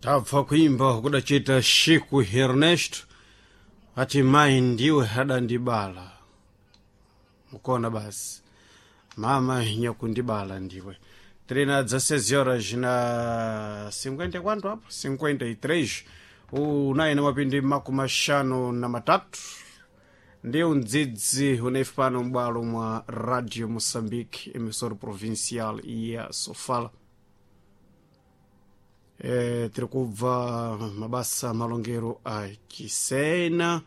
Tabva kuimba kudachita Chico Ernesto ati mai ndiwe adandibala. Mukona basi mama nyakundibala ndiwe. Trina 16 horas na 50 quanto apo? 53 unayi na mapindi 53 ndiyo mdzidzi unaife pano m'bwalo mwa Radio Moçambique, emissora provincial ya Sofala. Tiri kubva mabasa malongero a Chisena,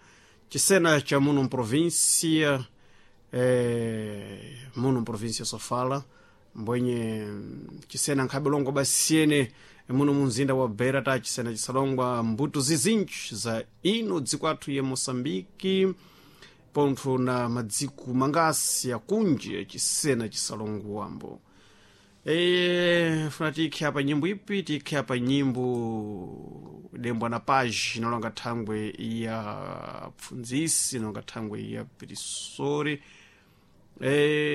Chisena cha muno mprovíncia, muno mprovíncia Sofala, mbwenye Chisena nkhabe longwa basiyene muno munzinda wa Beira ta Chisena chisalongwa mbuto zizinji za ino dziko athu ya Moçambique, pontho na madziko mangasi akunji ya Chisena chisalonguwambo. Funa tikhe apa nyimbo ipi? Tikhe apa nyimbo dembwa na page inalonga thangwe ya pfundzisi, inalonga thangwe ya pirisori.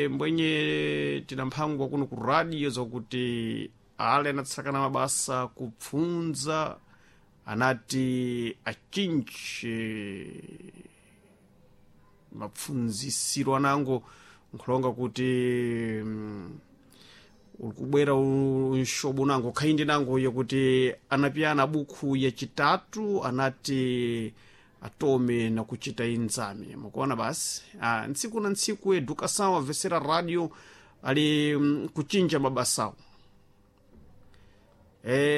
Mbwenye tina mphangwa kuno ku radio zakuti ale anatsakana mabasa kupfundza anati achinji mapfundzisiro anango nkhulonga kuti uli kubwera unshobo nango khaindi nango yakuti anapiyana bukhu yachitatu anati atome na kuchita inzame. Mukuona basi ntsiku na ntsiku educação avesera radio ali kuchinja mabasawo.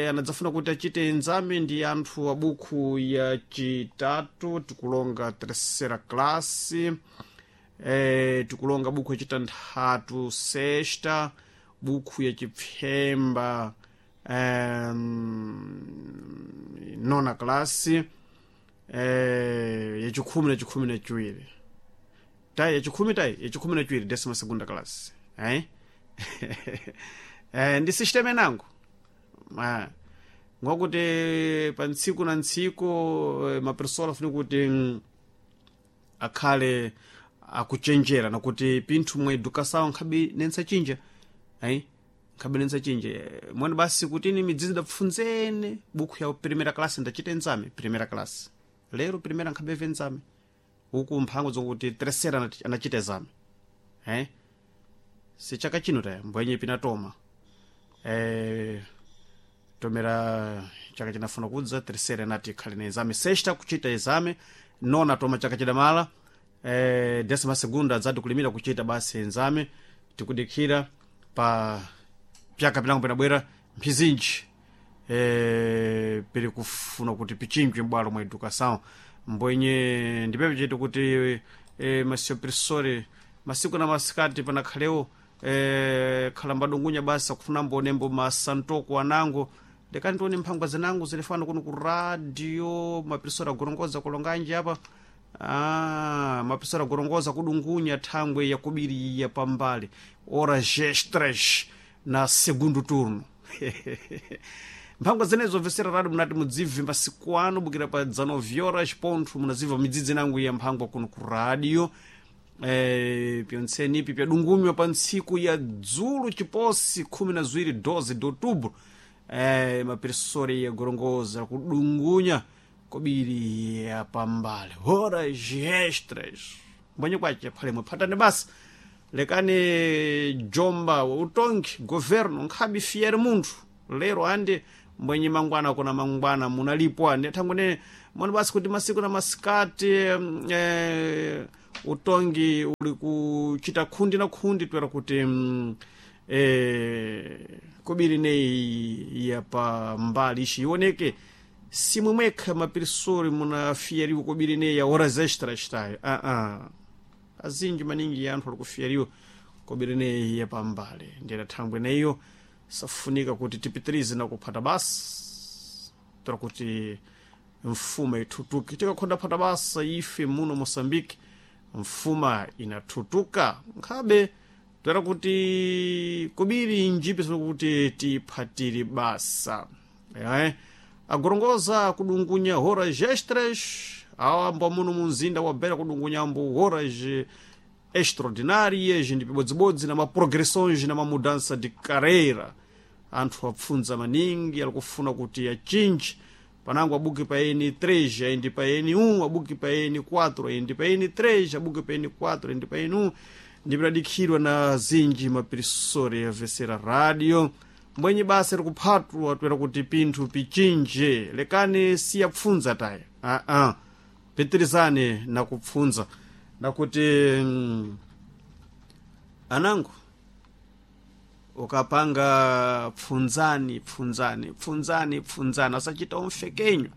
Anadzafuna kuti achite inzame ndi anthu a bukhu yachitatu, tikulonga terceira classe, tikulonga bukhu yachitanthatu sexta, bukhu yachipfemba nona klasi, yachikhumi na chikhumi na chiwiri tai yachikhumi tai yachikhumi na chiwiri décima segunda classe. Ndi sistema inango ngokuti pa ntsiku na ntsiku mapersona afuna kuti akhale akuchenjera nakuti pinthu mwa educação nkhabe nensachinja ayi nkhabe nensachinja mwene basi kuti ini midzidzi dapfunzene bukhu ya primeira classe ndachita enzame primeira classe lero primeira nkhabe venzame uku mphango zokuti terceira anachita exame si chaka chino taya mbwenye pinatoma tomera chaka chinafuna kudza terceira anati ikhale na exame sexta kuchita exame nona toma chaka chidamala, décima segunda adzati kulimira kuchita basi exame. Tikudikhira pa pyaka pinango pinabwera mphizinji, pili kufuna kuti pichinjwe m'bwalo mwa educação. Mbwenye ndipepe chetu kuti masiopresore masiku na masikati panakhalewo khala mbadungunya basi akufuna mbonembo masantoko anango lekani tione mphangwa zinango zilifana kuno ku radio mapresore agorongoza kulonganji apa. Mapresore agorongoza kudungunya thangwe yakubiriya pambali horas extras na segundo turno. Mphangwa zenezo vesera radio munati mudzibve masiku ano bukira pa 19 horas pontho munazibva midzidzi nangu ya mphangwa kuno ku radio. Pyontseni ipi pyadungunywa pa ntsiku ya dzulu chiposi 12 12 de outubro, maperesori ya gorongoza kudungunya kobiri ya pambale horas extras mbwenye kwace phalemwe phatane basi lekani jomba utongi governo nkhabe fiere munthu lero ande mbwenye mangwana kuna mangwana munalipwa ande thangwene mwani basi kuti masiku na masikati utongi uli kuchita khundi na khundi twera kuti kobiri neyi ya pambali ishi ioneke simwe mwekha mapirisori munafieriwa kobiri neyi ya horas extras tayo azinji maningi anthu ali kufieriwa kobiri neyi ya pambali ndiyena thangwe neyo safunika kuti tipitirize na kuphata basa tora kuti mfuma ithutuke. Tikakhonda phata basa ife muno Moçambique mfuma inathutuka nkhabe toera kuti kobiri njipi kuti tiphatire basa. Agorongoza kudungunya horas extras awambo muno munzinda wa Beira kudungunya ambo horas extraordinárias ndi pibodzibodzi na maprogressões na mamudança de carreira. Anthu apfundza maningi alikufuna kuti achinji panango abuki pa eni 3 aindi pa eni 1, abuki pa eni 4 aindi pa eni 3, abuki pa eni 4 aindi pa eni 1. Ndipidadikhidwa na zinji mapirisori yavesera radio mbwenye basa likuphatwa toera kuti pinthu pichinje. Lekani siyapfundza taya, aa, pitirizane na kupfundza nakuti anango ukapanga pfunzani pfunzani pfunzani pfunzani asachita umfekenyo.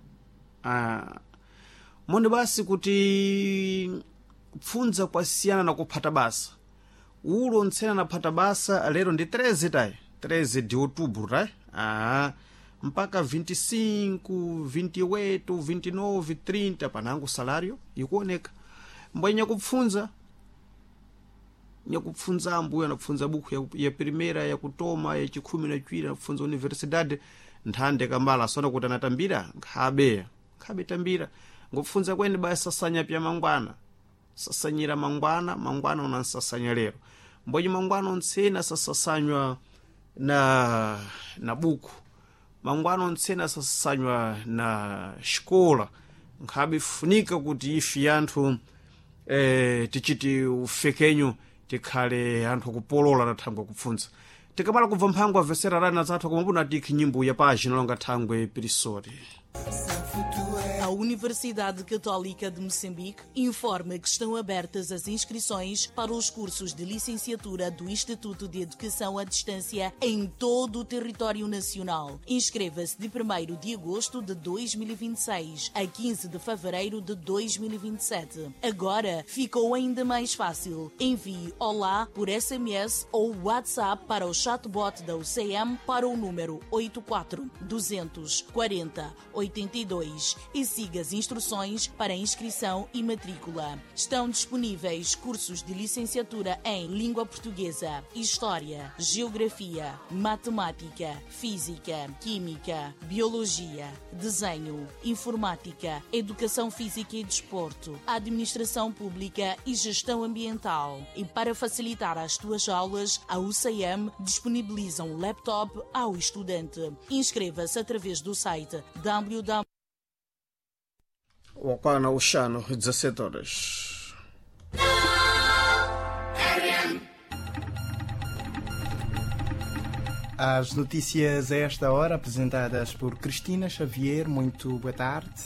Monde basi kuti pfundza kwasiyana na kuphata basa. Ulo ntsena naphata basa lero ndi 13 tayi, 13 de outubro tayi, mpaka 25, 28, 29, 30 panango salario ikuoneka. Mbwe nyakupfunza nyakupfunza ambuyo anapfunza buku ya primeira, ya kutoma, ya chikhumi na chwiri, anapfunza universidade nthande kambala asona kuti anatambira nkhabe nkhabe tambira ngopfunza kweni basi sasanya pya mangwana, sasanyira mangwana, mangwana unansasanya lero mbwenye mangwana ontsena sasasanywa na buku, mangwana ontsena sasasanywa na xikola. Nkhabe funika kuti ifi anthu tichiti ufekenyo tikhale anthu akupolola na thangwe kupfunza. Tikamala kubva mphango avesera rana zathu akumapuna tikhi nyimbo ya pagina longa thangwe pirisori. A Universidade Católica de Moçambique informa que estão abertas as inscrições para os cursos de licenciatura do Instituto de Educação à Distância em todo o território nacional. Inscreva-se de 1º de agosto de 2026 a 15 de fevereiro de 2027. Agora ficou ainda mais fácil. Envie Olá por SMS ou WhatsApp para o chatbot da UCM para o número 84 240 82 e siga as instruções para inscrição e matrícula. Estão disponíveis cursos de licenciatura em Língua Portuguesa, História, Geografia, Matemática, Física, Química, Biologia, Desenho, Informática, Educação Física e Desporto, Administração Pública e Gestão Ambiental. E para facilitar as tuas aulas, a UCM disponibiliza um laptop ao estudante. Inscreva-se através do site www. Wakwana uxano, 17 horas. As notícias a esta hora apresentadas por Cristina Xavier. Muito boa tarde.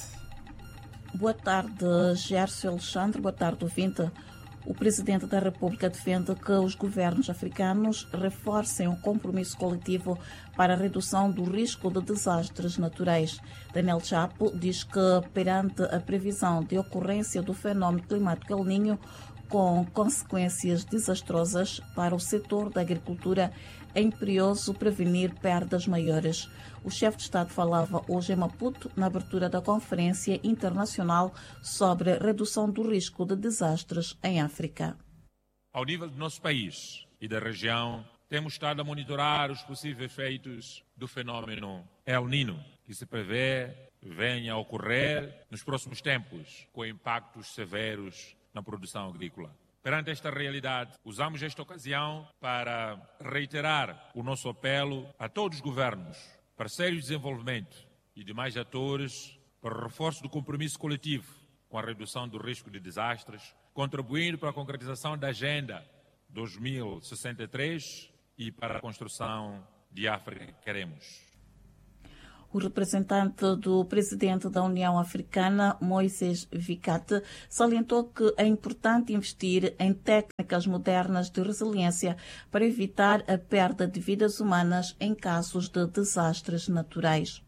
Boa tarde, Gerson Alexandre. Boa tarde, ouvinte. O presidente da República defende que os governos africanos reforcem o compromisso coletivo para a redução do risco de desastres naturais. Daniel Chapo diz que, perante a previsão de ocorrência do fenómeno climático El Niño, com consequências desastrosas para o setor da agricultura, é imperioso prevenir perdas maiores. O chefe de Estado falava hoje em Maputo, na abertura da Conferência Internacional sobre Redução do Risco de Desastres em África. Ao nível do nosso país e da região, temos estado a monitorar os possíveis efeitos do fenômeno El Niño, que se prevê venha a ocorrer nos próximos tempos, com impactos severos na produção agrícola. Perante esta realidade, usamos esta ocasião para reiterar o nosso apelo a todos os governos, parceiros de desenvolvimento e demais atores para o reforço do compromisso coletivo com a redução do risco de desastres, contribuindo para a concretização da Agenda 2063 e para a construção de África que queremos. O representante do presidente da União Africana, Moisés Vicate, salientou que é importante investir em técnicas modernas de resiliência para evitar a perda de vidas humanas em casos de desastres naturais.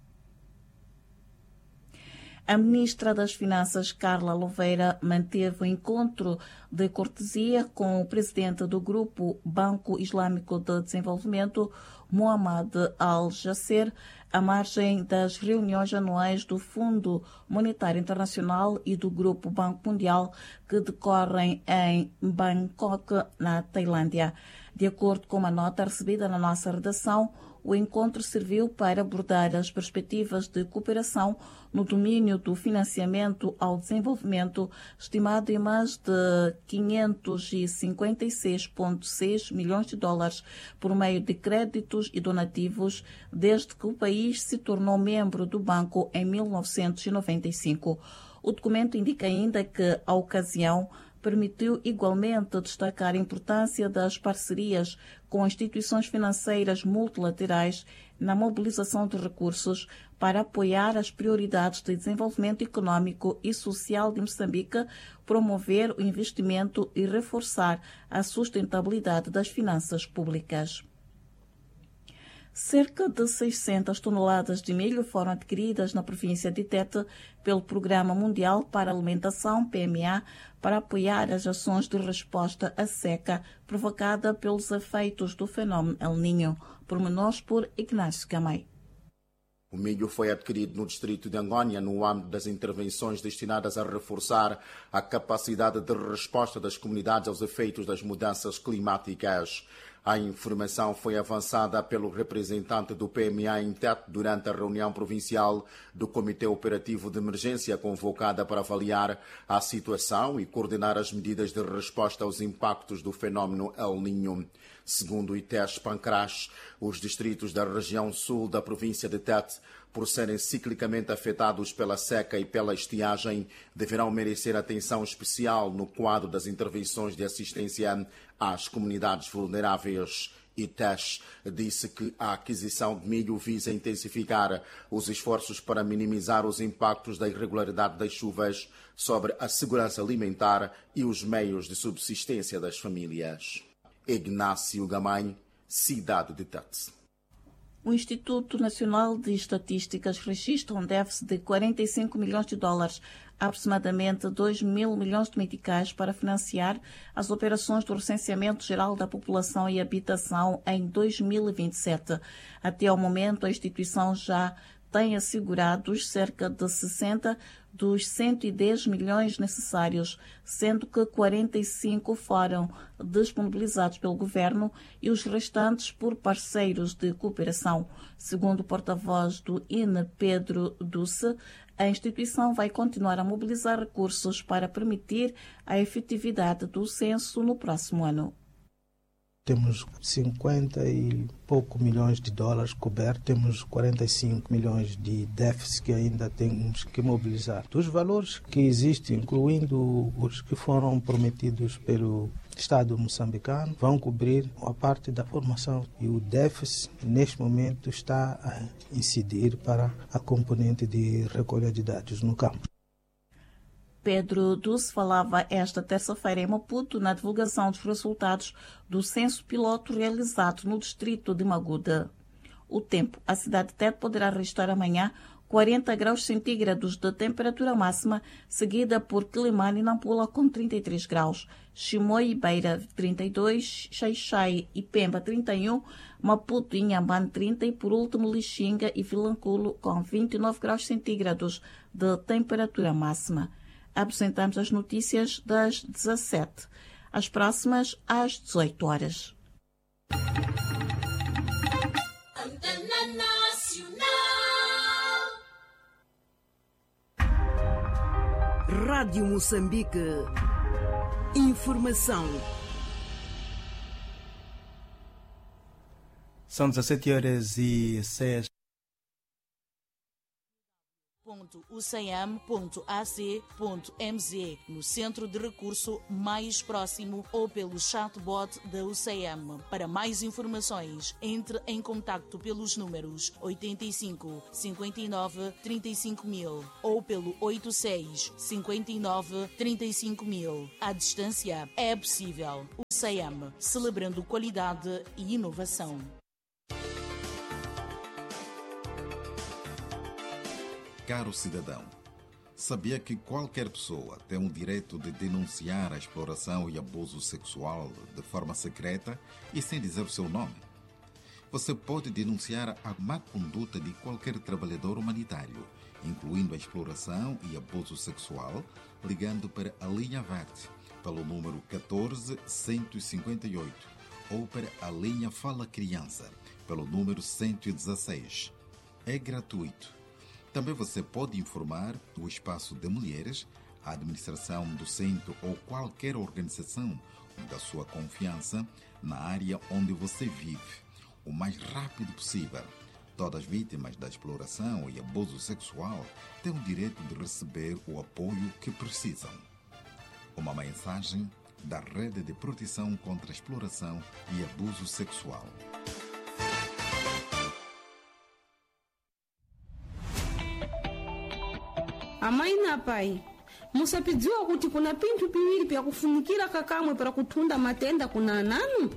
A ministra das Finanças, Carla Louveira, manteve um encontro de cortesia com o presidente do Grupo Banco Islâmico de Desenvolvimento, Mohamed Al-Jasser, à margem das reuniões anuais do Fundo Monetário Internacional e do Grupo Banco Mundial, que decorrem em Bangkok, na Tailândia. De acordo com uma nota recebida na nossa redação, O encontro serviu para abordar as perspectivas de cooperação no domínio do financiamento ao desenvolvimento, estimado em mais de 556,6 milhões de dólares por meio de créditos e donativos, desde que o país se tornou membro do banco em 1995. O documento indica ainda que a ocasião permitiu igualmente destacar a importância das parcerias com instituições financeiras multilaterais na mobilização de recursos para apoiar as prioridades de desenvolvimento econômico e social de Moçambique, promover o investimento e reforçar a sustentabilidade das finanças públicas. Cerca de 600 toneladas de milho foram adquiridas na província de Tete pelo Programa Mundial para a Alimentação, PMA, para apoiar as ações de resposta à seca provocada pelos efeitos do fenômeno El Niño. Pormenores por Ignácio Gamay. O milho foi adquirido no distrito de Angônia no âmbito das intervenções destinadas a reforçar a capacidade de resposta das comunidades aos efeitos das mudanças climáticas. A informação foi avançada pelo representante do PMA em Tete durante a reunião provincial do Comitê Operativo de Emergência convocada para avaliar a situação e coordenar as medidas de resposta aos impactos do fenômeno El Niño. Segundo o ITES Pancras, os distritos da região sul da província de Tete, por serem ciclicamente afetados pela seca e pela estiagem, deverão merecer atenção especial no quadro das intervenções de assistência às comunidades vulneráveis. ITES disse que a aquisição de milho visa intensificar os esforços para minimizar os impactos da irregularidade das chuvas sobre a segurança alimentar e os meios de subsistência das famílias. Ignácio Gamay, cidade de Tete. O Instituto Nacional de Estatísticas registra um déficit de 45 milhões de dólares, aproximadamente 2 mil milhões de meticais, para financiar as operações do Recenseamento Geral da População e Habitação em 2027. Até ao momento, a instituição já tem assegurados cerca de 60 dos 110 milhões necessários, sendo que 45 foram disponibilizados pelo governo e os restantes por parceiros de cooperação. Segundo o porta-voz do INE, Pedro Duce, a instituição vai continuar a mobilizar recursos para permitir a efetividade do censo no próximo ano. Temos 50 e pouco milhões de dólares cobertos, temos 45 milhões de déficit que ainda temos que mobilizar. Dos valores que existem, incluindo os que foram prometidos pelo Estado moçambicano, vão cobrir a parte da formação e o déficit neste momento está a incidir para a componente de recolha de dados no campo. Pedro Duce falava esta terça-feira em Maputo na divulgação dos resultados do censo piloto realizado no distrito de Maguda. O tempo. A cidade de Tete poderá registrar amanhã 40 graus centígrados de temperatura máxima, seguida por Quelimane e Nampula com 33 graus, Chimoio e Beira 32, Xai-Xai e Pemba 31, Maputo e Inhambane 30 e, por último, Lixinga e Vilanculo com 29 graus centígrados de temperatura máxima. Apresentamos as notícias das 17. As próximas às 18 horas. Antena Nacional. Rádio Moçambique. Informação. São 17h06. ucm.ac.mz no centro de recurso mais próximo ou pelo chatbot da UCM. Para mais informações, entre em contacto pelos números 85 59 35 mil ou pelo 86 59 35 mil. À distância é possível. UCM, celebrando qualidade e inovação. Caro cidadão, sabia que qualquer pessoa tem o direito de denunciar a exploração e abuso sexual de forma secreta e sem dizer o seu nome? Você pode denunciar a má conduta de qualquer trabalhador humanitário, incluindo a exploração e abuso sexual, ligando para a Linha Verde pelo número 14 158 ou para a linha Fala Criança pelo número 116. É gratuito. Também você pode informar o Espaço de Mulheres, a administração do centro ou qualquer organização da sua confiança na área onde você vive, o mais rápido possível. Todas as vítimas da exploração e abuso sexual têm o direito de receber o apoio que precisam. Uma mensagem da Rede de Proteção contra a Exploração e Abuso Sexual. Amai na pai, musapidziwa kuti kuna pinthu piwiri pyakufunikira kakamwe para kuthunda matenda kuna ananu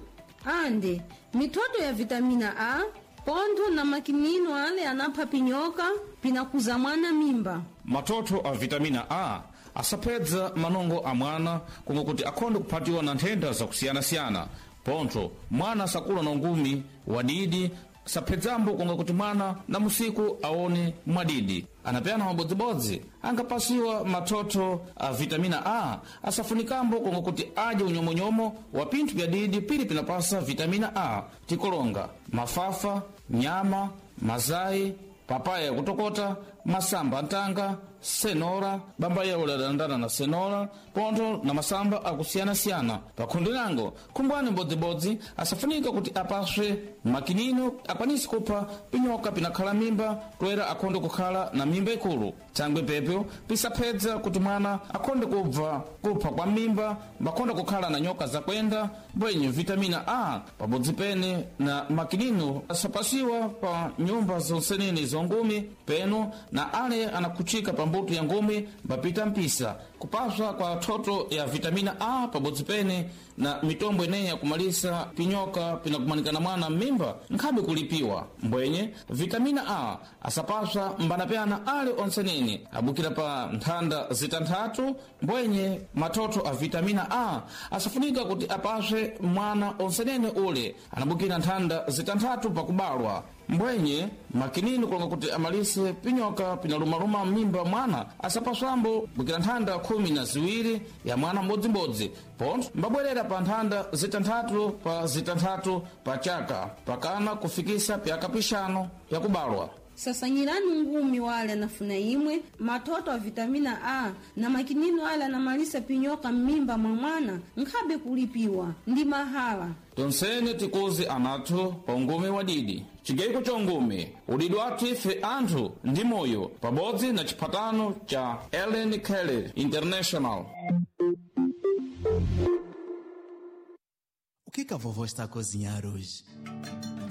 ande mithoto ya vitamina A pontho na makinino ale anapha pinyoka pinakuza mwana mimba. Mathotho a vitamina A asapedza manongo a mwana komwe kuti akhonde kuphatiwa na nthenda zakusiyanasiyana. Pontho mwana sakula na ungumi wadidi, saphedzambo konga kuti mwana na musiku aone mwadidi. Anapeyana mabodzibodzi angapasiwa mathotho a vitamina A asafunikambo konga kuti adye unyomonyomo wa pinthu pya didi pili pinapasa vitamina A, tikolonga mafafa, nyama, mazayi, papaya yakutokota, masamba antanga, senora, bamba yawo ladandana na senora, pontho na masamba akusiyanasiyana. Pakhundi lango khumbwani mbodzibodzi asafunika kuti apaswe makinino akwanise kupha pinyoka pinakhala mimba toera akhonde kukhala na mimba ikulu. Thangwe pepyo pisaphedza kuti mwana akhonde kubva kupha kwa mimba, mbakhonde kukhala na nyoka zakwenda mbwenye vitamina A pabodzi pene na makinino asapasiwa pa nyumba zonsenene zongumi peno na ale anakhuchika pa mbuto ya ngumi mbapita mpisa. Kupaswa kwa thotho ya vitamina A pabodzi pene na mitombo ineyi yakumalisa pinyoka pinakumanikana mwana m'mimba nkhabe kulipiwa. Mbwenye vitamina A asapaswa mbanapyana ale onsenene abukira pa nthanda zitanthatu. Mbwenye mathotho a vitamina A asafunika kuti apaswe mwana onsenene ule anabukira nthanda zitanthatu pakubalwa. Mbwenye makinini kulonga kuti amalise pinyoka pinalumaluma m'mimba mwana asapaswambo bukira nthanda 12 ya mwana mbodzimbodzi, pontho mbabwerera pa nthanda zitanthatu pa zitanthatu pa chaka pakana kufikisa pyaka pixanu pyakubalwa. Sasanyirani ngumi wale anafuna imwe mathoto a vitamina A na makinino ale anamalisa pinyoka m'mimba mwa mwana nkhabe kulipiwa ndi mahala. Tonsene tikuzi anathu pa ungumi wadidi chigayiko cha ungumi udidi wathu ife anthu ndi moyo pabodzi na chiphatano cha Ellen Kelly International. O que que a vovó está a cozinhar hoje?